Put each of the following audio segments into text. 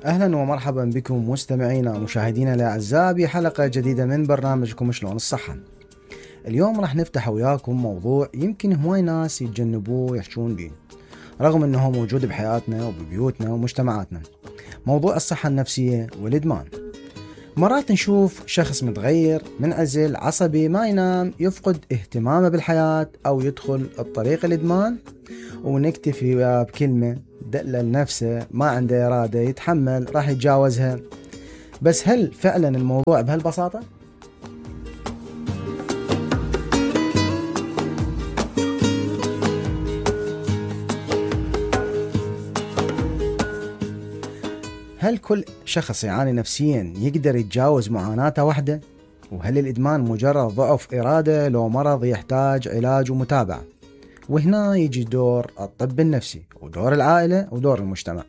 أهلا ومرحبا بكم مستمعينا ومشاهدينا الأعزاء بحلقة جديدة من برنامجكم شلون الصحة. اليوم راح نفتح وياكم موضوع يمكن هواي ناس يتجنبوه ويحشون بيه رغم أنه موجود بحياتنا وببيوتنا ومجتمعاتنا. موضوع الصحة النفسية والإدمان. مرات نشوف شخص متغير، منعزل، عصبي، ما ينام، يفقد اهتمامه بالحياة أو يدخل الطريق الإدمان، ونكتفي بكلمة دلل نفسه، ما عنده إرادة، يتحمل، راح يتجاوزها. بس هل فعلا الموضوع بهالبساطة؟ هل كل شخص يعاني نفسيا يقدر يتجاوز معاناته وحده؟ وهل الإدمان مجرد ضعف إرادة لو مرض يحتاج علاج ومتابعة؟ وهنا يجي دور الطب النفسي ودور العائلة ودور المجتمع.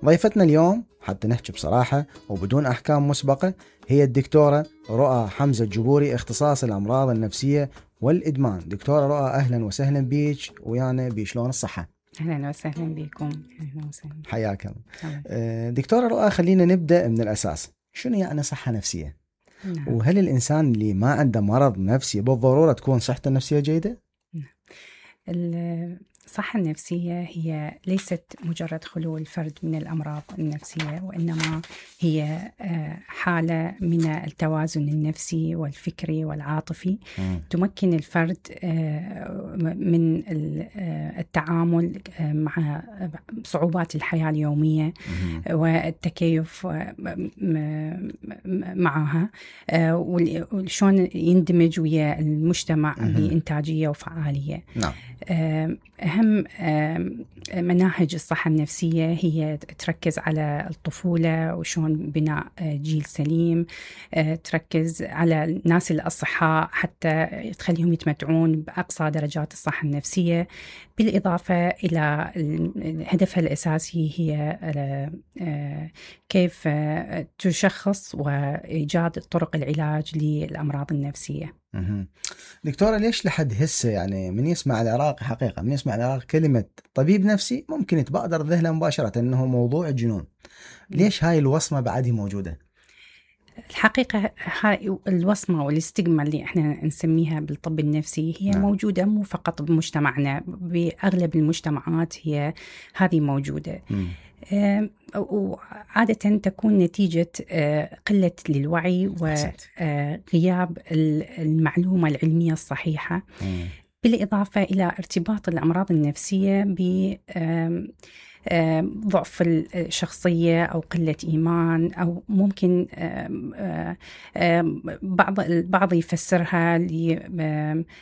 ضيفتنا اليوم حتى نحكي بصراحة وبدون أحكام مسبقة هي الدكتورة رؤى حمزة الجبوري، اختصاص الأمراض النفسية والإدمان. دكتورة رؤى أهلا وسهلا بيك ويانا بشلون الصحة. أهلا وسهلا بكم. أهلا وسهلا. حياك الله. دكتورة رؤى، خلينا نبدأ من الأساس. شنو يعني صحة نفسية؟ نعم. وهل الإنسان اللي ما عنده مرض نفسي بالضرورة تكون صحته النفسية جيدة؟ الصحة النفسية هي ليست مجرد خلو الفرد من الأمراض النفسية، وإنما هي حالة من التوازن النفسي والفكري والعاطفي تمكن الفرد من التعامل مع صعوبات الحياة اليومية والتكيف معها، وشون يندمج ويا المجتمع بإنتاجية وفعالية. نعم. أهم مناهج الصحة النفسية هي تركز على الطفولة وشون بناء جيل سليم، تركز على الناس الأصحاء حتى تخليهم يتمتعون بأقصى درجات الصحة النفسية، بالإضافة إلى هدفها الأساسي هي كيف تشخص وإيجاد طرق العلاج للأمراض النفسية. دكتورة، ليش لحد هسه يعني من يسمع العراق، حقيقة من يسمع العراق كلمة طبيب نفسي ممكن يتبادر ذهنه مباشرة أنه موضوع الجنون؟ ليش هاي الوصمة بعدها موجودة؟ الحقيقة هاي الوصمة والاستجمة اللي احنا نسميها بالطب النفسي هي موجودة مو فقط بمجتمعنا، بأغلب المجتمعات هي هذه موجودة. وعادة تكون نتيجة قلة للوعي وغياب المعلومة العلمية الصحيحة، بالإضافة إلى ارتباط الأمراض النفسية ضعف الشخصية أو قلة إيمان، أو ممكن البعض يفسرها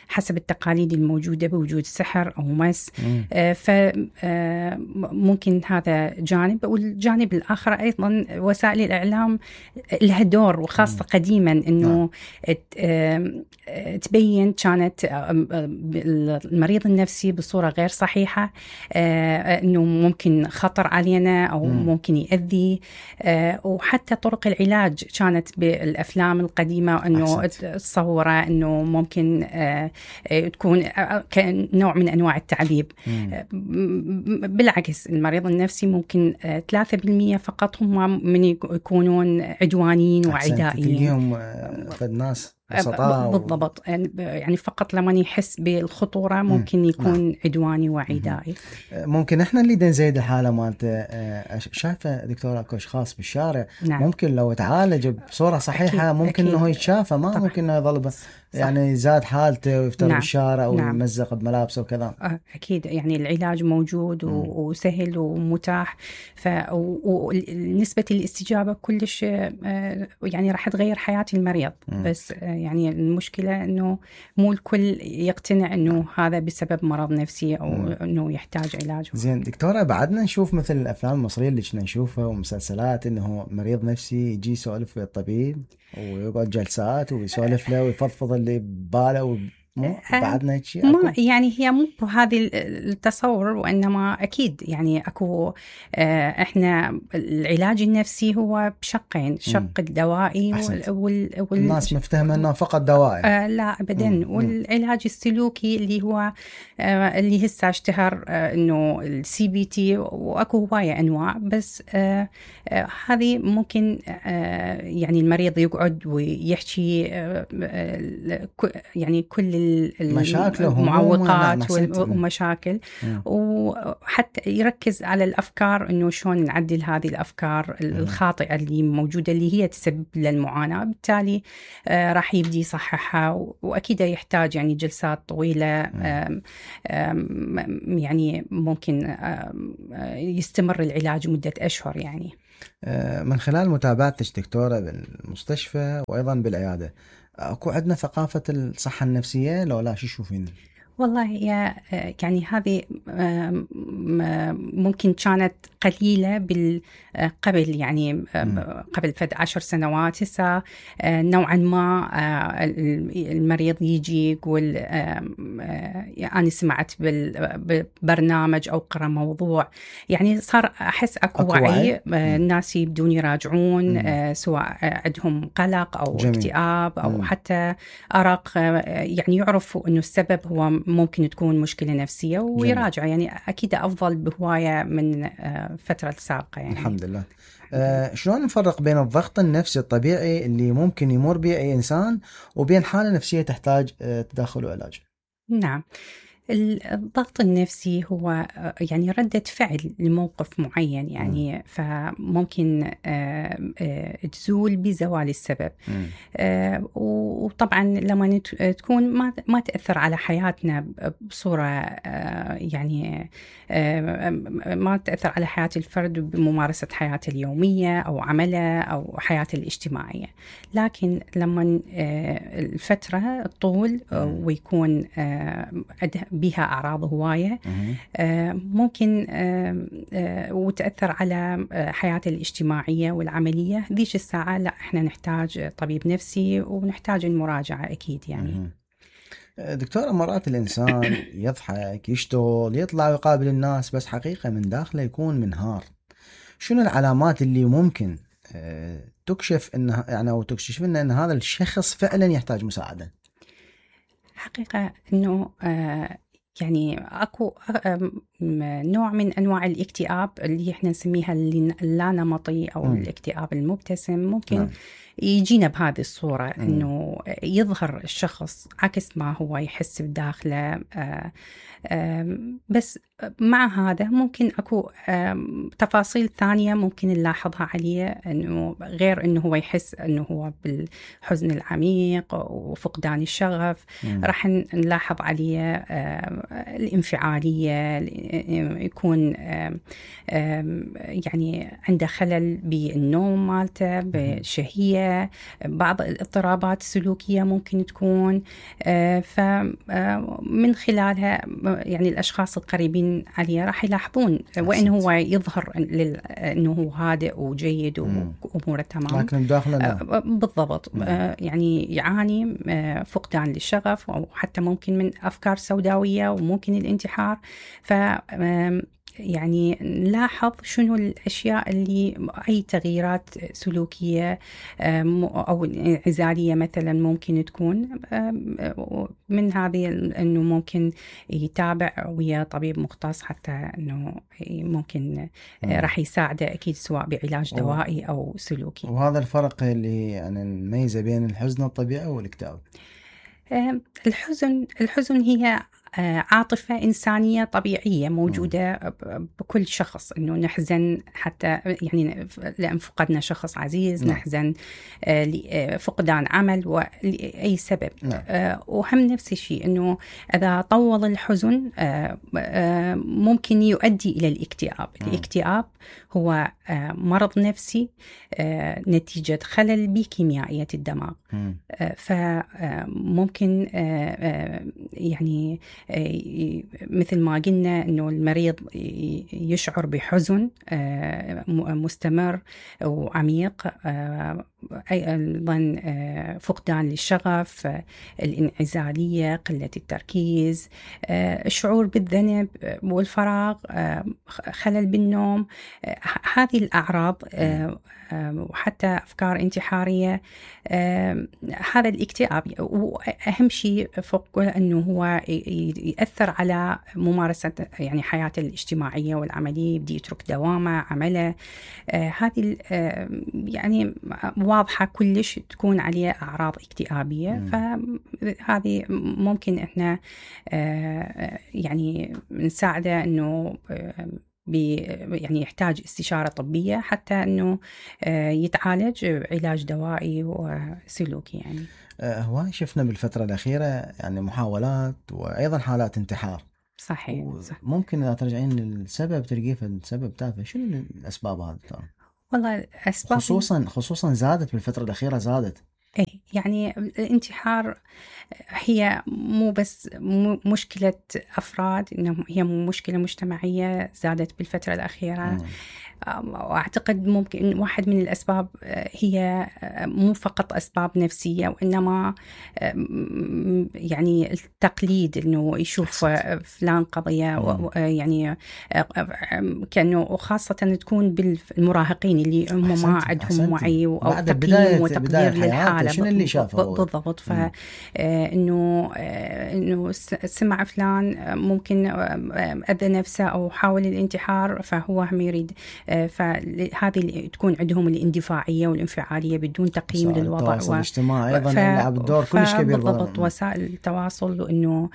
حسب التقاليد الموجودة بوجود سحر أو مس. فممكن هذا جانب، والجانب الآخر أيضا وسائل الإعلام لها دور، وخاصة قديما أنه تبين كانت المريض النفسي بصورة غير صحيحة، أنه ممكن خطر علينا أو ممكن يؤذي. وحتى طرق العلاج كانت بالأفلام القديمة أنه تصوره أنه ممكن تكون كنوع من أنواع التعذيب. بالعكس، المريض النفسي ممكن 3% فقط هم من يكونون عدوانيين وعدائيين. تلقيهم الناس بالضبط، يعني فقط لما يحس بالخطورة ممكن يكون عدواني وعدائي. ممكن احنا اللي نزيد الحالة مالته. شايفة دكتورة اكو اشخاص بالشارع ممكن لو تعالج بصورة صحيحة ممكن انه يتشافى، ما طبعا. ممكن انه يظل يعني زاد حالته ويفتر بالشارع ويمزق بملابسه وكذا. اكيد، يعني العلاج موجود وسهل ومتاح، ونسبة الاستجابة كلش يعني راح تغير حياة المريض. بس يعني المشكلة انه مو الكل يقتنع انه هذا بسبب مرض نفسي او انه يحتاج علاج. زين دكتورة، بعدنا نشوف مثل الافلام المصرية اللي كنا نشوفها ومسلسلات انه مريض نفسي يجي يسولف ويا الطبيب ويقعد جلسات ويسولف له ويفضفض اللي بباله مو بعدنا هيك شيء ما يعني هي مو بهذه التصور، وإنما أكيد يعني أكو إحنا العلاج النفسي هو بشقين، الشق الدوائي الناس مفتهمة أنه فقط دوائي. لا أبدا. والعلاج السلوكي اللي هو اللي هسه اشتهر إنه CBT، وأكو هواية أنواع، بس هذه ممكن يعني المريض يقعد ويحكي يعني كل المعوقات ومشاكل، وحتى يركز على الأفكار إنه شلون نعدل هذه الأفكار الخاطئة اللي موجودة اللي هي تسبب للمعاناة. بالتالي راح يبدي يصححها، وأكيد يحتاج يعني جلسات طويلة، يعني ممكن يستمر العلاج مدة أشهر. يعني من خلال متابعتك دكتورة بالمستشفى وأيضا بالعيادة، أكو عندنا ثقافة الصحة النفسية لو لا؟ شو تشوفين؟ والله يعني هذه ممكن كانت قليلة قبل، يعني قبل 10 سنوات. هسه نوعا ما المريض يجي يقول أنا سمعت بالبرنامج أو قرأ موضوع، يعني صار أحس أكو وعي. الناس يبدون يراجعون سواء عندهم قلق أو اكتئاب أو حتى أرق، يعني يعرفوا أنه السبب هو ممكن تكون مشكلة نفسية ويراجع. يعني أكيد أفضل بهواية من فترة سابقة. يعني الحمد لله. شلون نفرق بين الضغط النفسي الطبيعي اللي ممكن يمر به أي إنسان وبين حالة نفسية تحتاج تدخل وعلاج؟ نعم، الضغط النفسي هو يعني ردة فعل لموقف معين، يعني فممكن تزول بزوال السبب. وطبعا لما تكون ما تأثر على حياتنا بصورة يعني ما تأثر على حياة الفرد بممارسة حياته اليومية أو عمله أو حياته الاجتماعية. لكن لما الفترة الطول ويكون بها أعراض هواية، ممكن وتأثر على حياته الاجتماعية والعملية، ذيش الساعة لا، إحنا نحتاج طبيب نفسي ونحتاج المراجعة أكيد. يعني دكتورة، مرات الإنسان يضحك، يشتغل، يطلع ويقابل الناس، بس حقيقة من داخله يكون منهار. شنو العلامات اللي ممكن تكشف إنه يعني أو تكشف لنا إن هذا الشخص فعلا يحتاج مساعدة؟ حقيقة إنه يعني أكو نوع من أنواع الاكتئاب اللي إحنا نسميها اللا نمطي أو الاكتئاب المبتسم. ممكن يجينا بهذه الصورة، إنه يظهر الشخص عكس ما هو يحس بداخله. بس مع هذا ممكن أكو تفاصيل ثانية ممكن نلاحظها عليه، إنه غير إنه هو يحس إنه هو بالحزن العميق وفقدان الشغف، راح نلاحظ عليه الانفعالية، يكون يعني عنده خلل بالنوم مالته، بالشهية، بعض الاضطرابات السلوكية ممكن تكون. فمن خلالها يعني الأشخاص القريبين عليه راح يلاحظون وين هو يظهر إنه هو هادئ وجيد وأموره تمام، لكن داخله بالضبط يعني يعاني فقدان للشغف، أو حتى ممكن من أفكار سوداوية وممكن الانتحار. ف يعني نلاحظ شنو الأشياء اللي أي تغييرات سلوكية أو انعزالية مثلا ممكن تكون. من هذه إنه ممكن يتابع ويا طبيب مختص، حتى إنه ممكن راح يساعده أكيد سواء بعلاج دوائي أو سلوكي. وهذا الفرق اللي يعني نميزه بين الحزن الطبيعي والاكتئاب. الحزن هي عاطفة إنسانية طبيعية موجودة بكل شخص، إنه نحزن حتى يعني لأن فقدنا شخص عزيز، نحزن لفقدان عمل ولأي سبب. وهم نفس الشيء، إنه إذا طول الحزن ممكن يؤدي إلى الاكتئاب. الاكتئاب هو مرض نفسي نتيجة خلل بكيميائية الدماغ. فممكن يعني مثل ما قلنا إنه المريض يشعر بحزن مستمر وعميق، أيضا فقدان للشغف، الانعزالية، قلة التركيز، الشعور بالذنب والفراغ، خلل بالنوم. هذه الأعراض وحتى أفكار انتحارية. هذا الاكتئاب، وأهم شيء فوق كل أنه هو يأثر على ممارسة يعني حياته الاجتماعية والعملية، يبدي يترك دوامه، عمله. هذه يعني واضحة كلش تكون عليه أعراض اكتئابية. فهذه ممكن إحنا يعني نساعده أنه يعني يحتاج استشارة طبية حتى أنه يتعالج علاج دوائي وسلوكي. يعني هواي شفنا بالفترة الأخيرة يعني محاولات وأيضا حالات انتحار. صحيح. ممكن إذا ترجعين للسبب تلقيه السبب تافه، شنو الأسباب هذه؟ والله الأسباب خصوصا زادت بالفترة الأخيرة، زادت. يعني الانتحار هي مو بس مشكلة أفراد، إنه هي مشكلة مجتمعية زادت بالفترة الأخيرة. وأعتقد ممكن واحد من الأسباب هي مو فقط أسباب نفسية، وإنما يعني التقليد، إنه يشوف فلان قضية يعني كأنه، وخاصة تكون بالمراهقين اللي هم ما عندهم وعي أو تقييم وتقدير للحالة. شنو اللي شافه بالضبط. إنه سمع فلان ممكن أذى نفسه أو حاول الانتحار، فهو هم يريد. فهذه تكون عندهم الاندفاعية والانفعالية بدون تقييم للوضع. التواصل الاجتماعي أيضا يلعب دور كلش كبير. بالضبط، وسائل التواصل، وإنه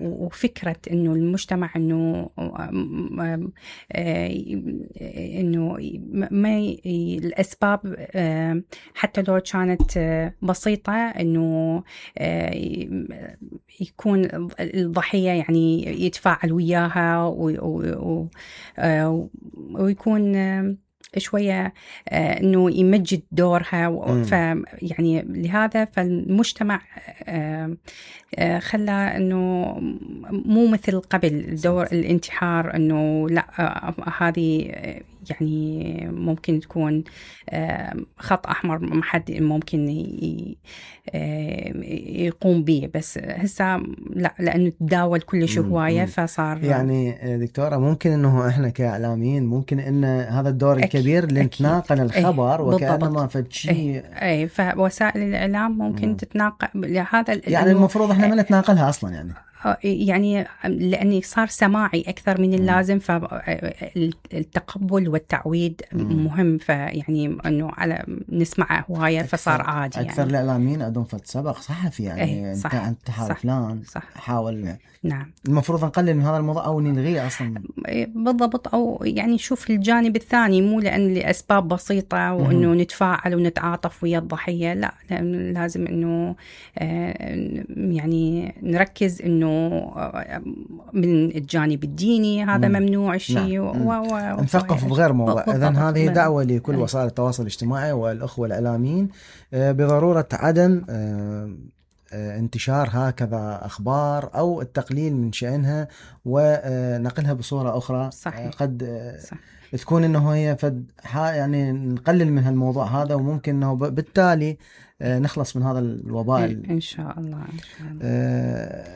وفكرة إنه المجتمع إنه ما الأسباب حتى لو كانت بسيطة، إنه يكون الضحية يعني يتفاعل وياها ويكون شوية إنه يمجد دورها. فيعني لهذا فالمجتمع خلى إنه مو مثل قبل دور الانتحار، إنه لا هذه يعني ممكن تكون خط أحمر ما حد ممكن يقوم به. بس هسه لا، لأنه تداول كل هواية فصار. يعني دكتورة ممكن إنه إحنا كإعلاميين ممكن إن هذا الدور الكبير اللي نتناقل الخبر وكأنما فشي. فوسائل الإعلام ممكن تتناقل هذا. يعني المفروض إحنا ما نتناقلها أصلا يعني لأني صار سماعي أكثر من اللازم، فالتقبل والتعويد مهم. فيعني أنه على نسمع هواية فصار عادي. أكثر يعني الإعلاميين عندهم سبق صحفي، يعني أنت فلان حاول. نعم، المفروض نقلل من هذا الموضوع أو نلغيه أصلا. بالضبط، أو يعني نشوف الجانب الثاني، مو لأن لأسباب بسيطة وإنه نتفاعل ونتعاطف ويا الضحية. لا، لازم إنه يعني نركز إنه من الجانب الديني هذا ممنوع شيء. نثقف بغير موضوع. إذن هذه دعوة لكل وسائل التواصل الاجتماعي والأخوة الإعلاميين بضرورة عدم انتشار هكذا أخبار أو التقليل من شأنها ونقلها بصورة أخرى. صحيح. قد تكون إنه هي يعني نقلل من هالموضوع هذا، وممكن إنه بالتالي نخلص من هذا الوباء إن شاء الله.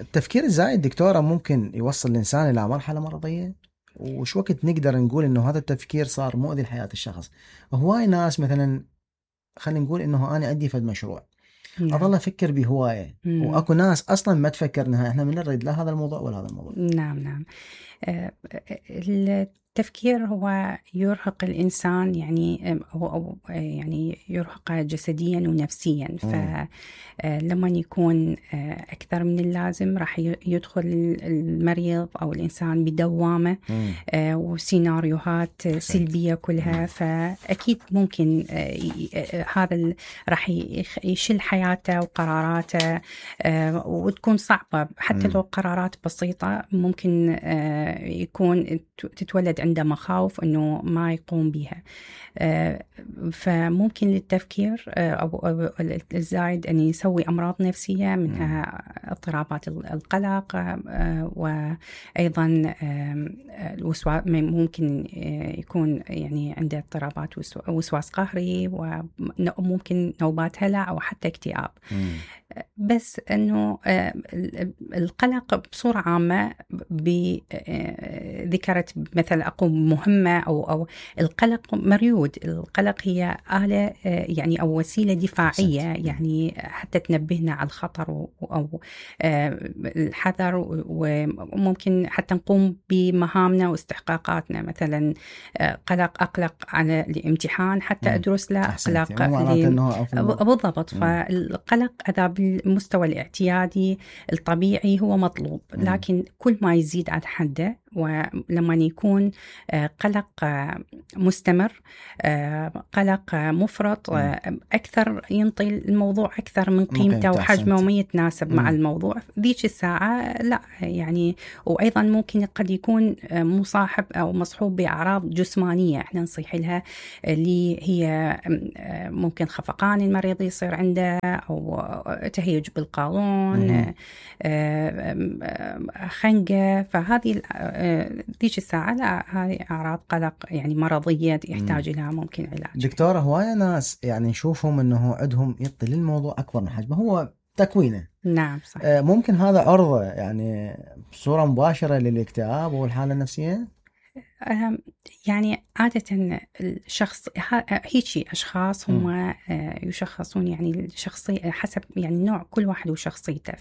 التفكير الزايد دكتورة ممكن يوصل الإنسان إلى مرحلة مرضية، وش وقت نقدر نقول إنه هذا التفكير صار مؤذي لحياة الشخص؟ هواي ناس مثلا خلينا نقول إنه أنا عندي فد مشروع أظل أفكر بهواية، وأكو ناس أصلا ما تفكر نهاية. إحنا من نريد لا هذا الموضوع ولا هذا الموضوع. نعم. التفكير هو يرهق الإنسان، يعني هو يعني يرهق جسديا ونفسيا. فلما يكون أكثر من اللازم راح يدخل المريض أو الإنسان بدوامة وسيناريوهات سلبية كلها. فأكيد ممكن هذا راح يشل حياته وقراراته، وتكون صعبة. حتى لو قرارات بسيطة ممكن تتولد عنده مخاوف أنه ما يقوم بها. فممكن للتفكير أو الزايد أن يسوي أمراض نفسية منها اضطرابات القلق، وأيضا ممكن يكون يعني عنده اضطرابات وسواس قهري، وممكن نوبات هلع أو حتى اكتئاب. بس أنه القلق بصورة عامة ذكرت مثل أقوم مهمة أو القلق مريود. القلق هي آلة يعني أو وسيلة دفاعية يعني حتى تنبهنا على الخطر أو الحذر، وممكن حتى نقوم بمهامنا واستحقاقاتنا. مثلا أقلق على الامتحان حتى أدرس له، أقلق بالضبط. فالقلق هذا بالمستوى الاعتيادي الطبيعي هو مطلوب، لكن كل ما يزيد عن حده ولما يكون قلق مستمر، قلق مفرط أكثر، ينطي الموضوع أكثر من قيمته وحجمه وما يتناسب مع الموضوع ذيك الساعة، لا يعني. وأيضا ممكن قد يكون مصاحب أو مصحوب بأعراض جسمانية احنا نصيح لها، اللي هي ممكن خفقان المريض يصير عنده، أو تهيج بالقولون، خنقة. فهذه ذيك الساعة لا، هذه أعراض قلق يعني مرضية يحتاج لها ممكن علاج. دكتورة، هواية ناس يعني نشوفهم أنه عندهم يطي الموضوع أكبر من حجمه، هو تكوينه. نعم صح. ممكن هذا عرضة يعني بصورة مباشرة للاكتئاب والحالة النفسية؟ يعني عادة الشخص هيك أشخاص هم يشخصون يعني الشخصية حسب يعني نوع كل واحد وشخصيته.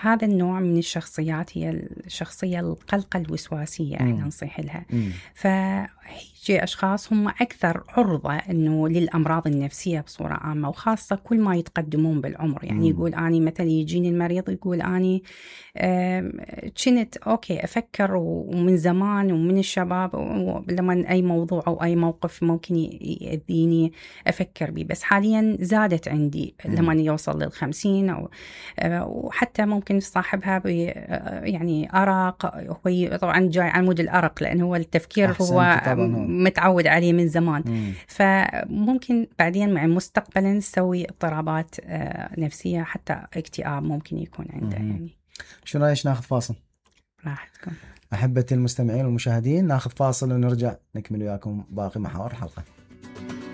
هذا النوع من الشخصيات هي الشخصية القلقة الوسواسية احنا نصيح لها. فهيجي أشخاص هم أكثر عرضة إنه للأمراض النفسية بصورة عامة، وخاصة كل ما يتقدمون بالعمر. يعني يقول أني مثلا يجيني المريض يقول أني كنت أوكي أفكر ومن زمان ومن الشباب لما أي موضوع أو أي موقف ممكن يأذيني أفكر به، بس حاليا زادت عندي لما يوصل لل50 أو وحتى ممكن صاحبها يعني أرق. هو طبعا جاي عمود الأرق لأنه هو التفكير هو متعود عليه من زمان. فممكن بعدين مع مستقبلا نسوي اضطرابات نفسية، حتى اكتئاب ممكن يكون عنده. يعني شو رأيك ناخذ فاصل؟ راحتكم أحبتي المستمعين والمشاهدين، ناخذ فاصل ونرجع نكمل وياكم باقي محاور الحلقة.